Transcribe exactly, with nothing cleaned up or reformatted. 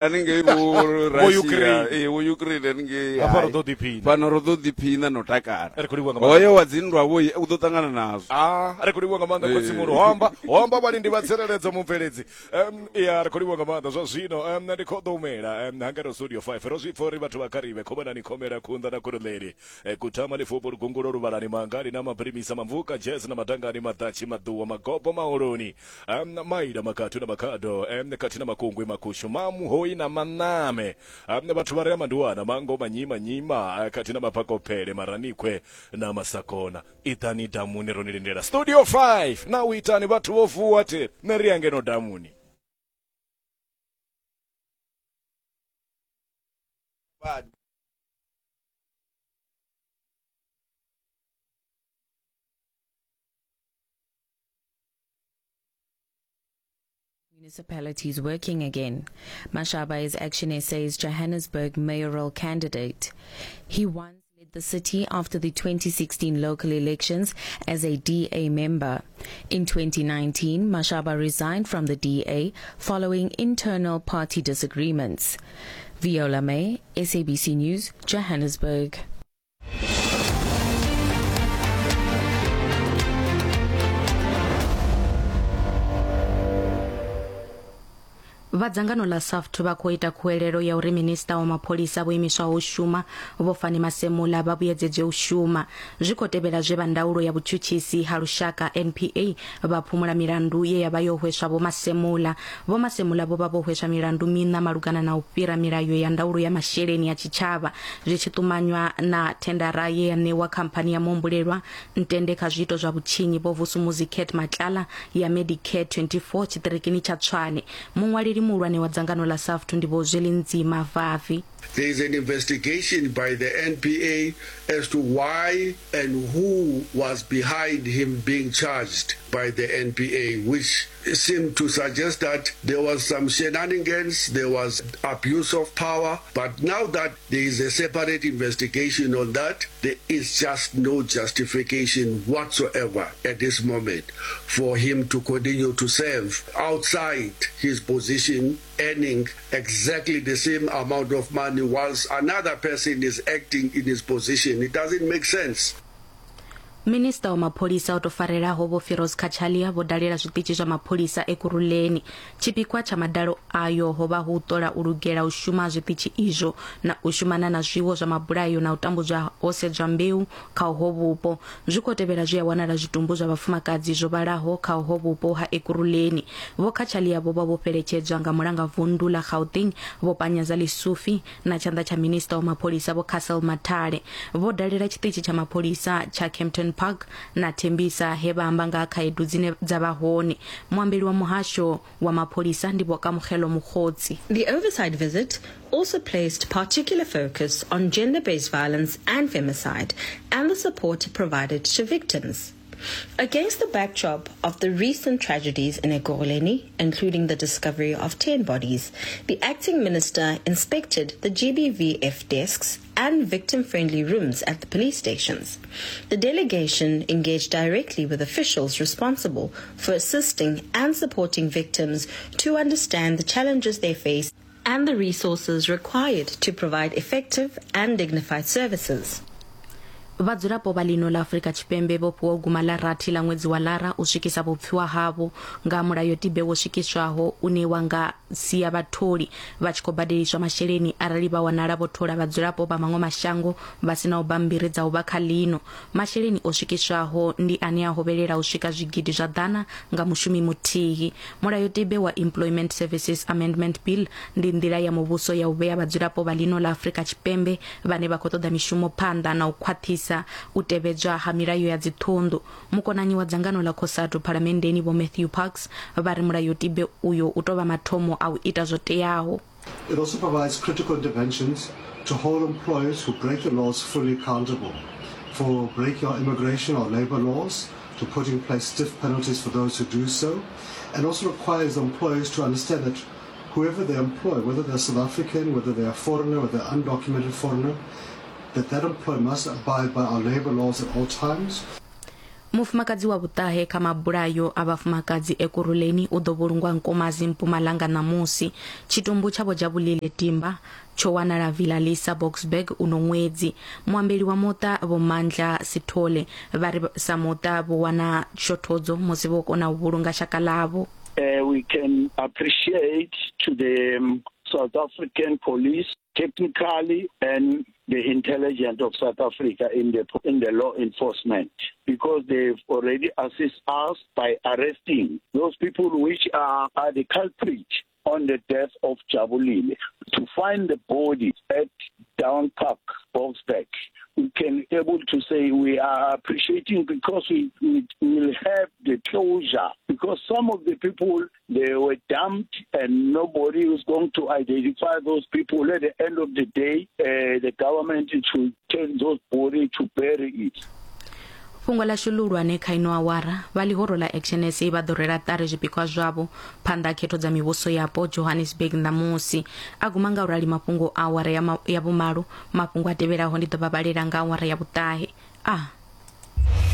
Haningei vho Russia, Ukraine. eh vho Ukraine haningei. Hafha ro ḓo ḓiphina. Fhano ro ḓo ḓiphina no takala. Ri khou livhuwa nga maanḓa. Hoyo wa dzinndwa vho u ḓo ṱangana nazwo. Ah, ri khou livhuwa nga maanḓa khotsi muhulu. Ho amba, ho amba vhalindi vha tsireledzo mubveledzi. Um, ya ri khou livhuwa nga maanḓa zwa zwino. Um, ndi khou ḓo humela um, hangeno studio five. Ro zwi pfa uri vhathu vha Karibe khomanani khomela khunḓa na khuruleli. E, kutama lifupo lugungulo luvhalani mangali na mapirimisa mamvuka jazz na madangani maḓatshi maḓuwa magobo maholoni. Um, maila makathu na makhado um, khathi na makungwi makushu mamuhoi na maname. Um, vhathu vha re manduwana mango manyima nyima khathi na mapakopele maranikhwe na masakona. Itani damuni ro ni lindela studio five na u itani vhathu vho vuwa the nṋe ri ya ngeno damuni. Municipalities working again. Mashaba is Action S A's Johannesburg mayoral candidate. He once led the city after the twenty sixteen local elections as a D A member. In twenty nineteen, Mashaba resigned from the D A following internal party disagreements. Viola May, S A B C News, Johannesburg. Vha dzangano ḽa SAFTU vha khou ita khuwelelo ya uri minista wa mapholisa vho imiswaho u shuma Vho Fannie Masemola vha vhuyedzedzwe u shuma. Zwi khou tevhela zwe vha ndaulo ya vhutshutshisi ha lushaka N P A vha phumula milandu ye ya vha yo hweswa Vho Masemola. Vho Masemola vho vha vho hweswa milandu miṋa malugana na u fhira milayo ya ndaulo ya masheleni ya tshitshavha zwi tshi ṱumanywa na thendara ye ya ṋewa khamphani ya muhumbulelwa Ntende kha zwiito zwa vhutshinyi Vho Vusumuzi Cat Matlala ya Medicare twenty-four tshiṱirikini tsha Tshwane. Muṅwaleli muhulwane wa dzangano ḽa SAFTU ndi Vho Zwelinzima Vavi. There is an investigation by the N P A as to why and who was behind him being charged by the N P A, which seemed to suggest that there was some shenanigans, there was abuse of power. But now that there is a separate investigation on that, there is just no justification whatsoever at this moment for him to continue to serve outside his position, earning exactly the same amount of money whilst another person is acting in his position. It doesn't make sense. Minista wa mapholisa o tou farelaho Vho Firoz Cachalia vho dalela zwiṱitshi zwa mapholisa Ekurhuleni. Tshipikwa tsha madalo ayo ho vha hu u ṱola u lugela u shuma zwiṱitshi izwo na u shumana na zwiwo zwa mabulayo na u tambudzwa ho sedzwa mbeu kha uho vhupo. Zwi khou tevhela zwi a wanala zwitumbu zwa vhafumakadzi zwo vhalaho kha uho vhupo ha Ekurhuleni. Vho Cachalia vho vha vho fheletshedzwa nga mulanga vundu ḽa Gauteng Vho Panyaza Lesufi na tshanḓa tsha minista wa mapholisa Vho Cassel Mathale. Vho dalela tshiṱitshi tsha mapholisa tsha Kempton Park na Tembisa he vha amba nga khaedu dzine dza vha hone. Muambeli wa muhasho wa mapholisa ndi Vho Kamogelo Mokgotsi. The oversight visit also placed particular focus on gender-based violence and femicide and the support provided to victims. Against the backdrop of the recent tragedies in Ekurhuleni, including the discovery of ten bodies, the acting minister inspected the G B V F desks and victim-friendly rooms at the police stations. The delegation engaged directly with officials responsible for assisting and supporting victims to understand the challenges they face and the resources required to provide effective and dignified services. Vhadzulapo vha ḽino ḽa Afrika Tshipembe vho fhiwa guma ḽa rathi ḽa ṅwedzi wa Lara u swikisa vhupfiwa havho nga mulayotibe wo swikiswaho une wa nga sia vhatholi vha tshi khou badeliswa masheleni arali vha wanala vho thola vhadzulapo vha maṅwe mashango vha sinaho bammbiri dza u vha kha ḽino. Masheleni o swikiswaho ndi ane a hovhelela u swika zwigidi zwa ḓana nga mushumi muthihi. Mulayotibe wa Employment Services Amendment Bill ndi nḓila ya muvhuso ya u vhea vhadzulapo vha ḽino ḽa Afrika Tshipembe vhane vha khou ṱoḓa mishumo phanḓa na u khwaṱhisa u tevhedzwa ha milayo ya dziṱhunḓu. Mukonanyi wa dzangano ḽa COSATU phalamenndeni Vho Matthew Parks vha ri mulayotibe uyo u tou vha mathomo a u ita zwo teaho. It also provides critical interventions to hold employers who break the laws fully accountable for breaking our immigration or labor laws, to put in place stiff penalties for those who do so, and also requires employers to understand that whoever they employ, whether they're South African, whether they're a foreigner, whether they're undocumented foreigner, that that employer must abide by our labor laws at all times. Mufumakadzi wa vhuṱahe kha mabulayo a vhafumakadzi Ekurhuleni u ḓo vhulungwa Nkomazi Mpumalanga ṋamusi. Tshitumbu tsha Vho Jabulile Timba tsho wanala Villa Lisa Boksburg uno ṅwedzi. Muambeli wa muṱa Vho Mandla Sithole vha ri sa muṱa vho wana shothodzo musi vho kona u vhulunga shaka ḽavho. Uh, we can appreciate to the um, South African police technically and the intelligence of South Africa in the in the law enforcement, because they've already assisted us by arresting those people which are, are the culprit on the death of Jabulile. To find the body at Down Park, Boksburg, we can able to say we are appreciating, because we, we will have the closure, because some of the people, they were dumped and nobody was going to identify those people. At the end of the day, uh, the government should take those bodies to bury it. Fhungo ḽashu ḽihulwane kha ino awara, vha ḽihoro ḽa Action S A vha ḓo rwela ṱari zwipikwa zwavho phanḓa khetho dza mivhuso yapo Johannesburg ṋamusi. A guma nga u rali mafhungo a awara ya, ma, ya vhumalo. Mafhungo a tevhelaho ndi ḓo vha vhalela nga awara ya vhuṱahe. A